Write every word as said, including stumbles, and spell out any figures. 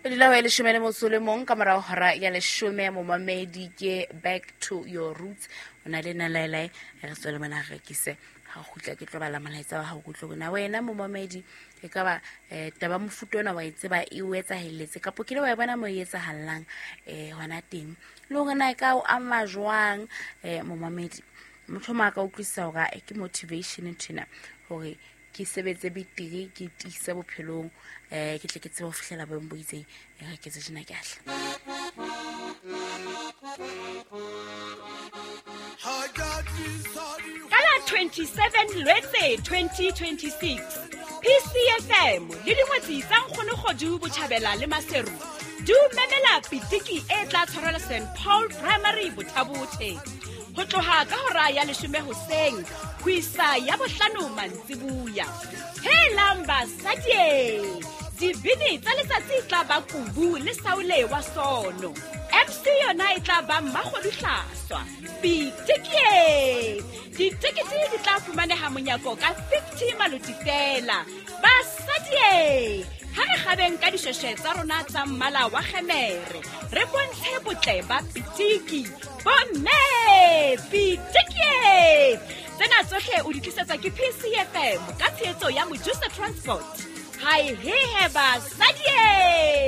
E dula ho e leshome le motso le mong ka morao hora ya leshome. Momamedi, ke Back to Your Roots, o na le nna laelae re tswele mona re rekise. Ha o kgutla ke tlo bala molaetsa wa hao, kutlwe na wena momamedi e ka ba um taba mofuta ona wa e tseba e o etsahelletse kapo kile wa e bona mo e etsahallang um hona teng, le hore na e ka o ama jwang. um momamedi, motho o mong a ka utlwisisa hore ke motivation nthwena hore ke sebetse betere, ke tiise bophelong, um ke tle ke tsebe ho fihlela boemo bo itseng. E re ke tse tjena ke ahle. Ka la twenty-seven Lwetse twenty twenty-six, P C F M le dingwetsi tsa Nkgono Kgodu Botjhabela le Maseru di o memela pitiki e tla tshwarelwa Saint Paul Primary Bothabothe ho tloha ka hora ya leshome hoseng ho isa ya bohlano mantsibuya. Helang basadie, dibini tsa letsatsi e tla ba Kubu le Saule wa Sono, M C yona e tla ba Mmakgodu Hlaswa. Pitikie, ditekete di tla fumaneha monyako ka fifty maloti fela. Basadie, ha re kgabeng ka dishweshwe tsa rona tsa mmala wa kgemere, re bontshe botle ba pitiki. Bomme, pitikie! Tsena tsohle o di tlisetswa ke P C F M ka tshehetso ya Mojusa Transport. Hae hehe basadie!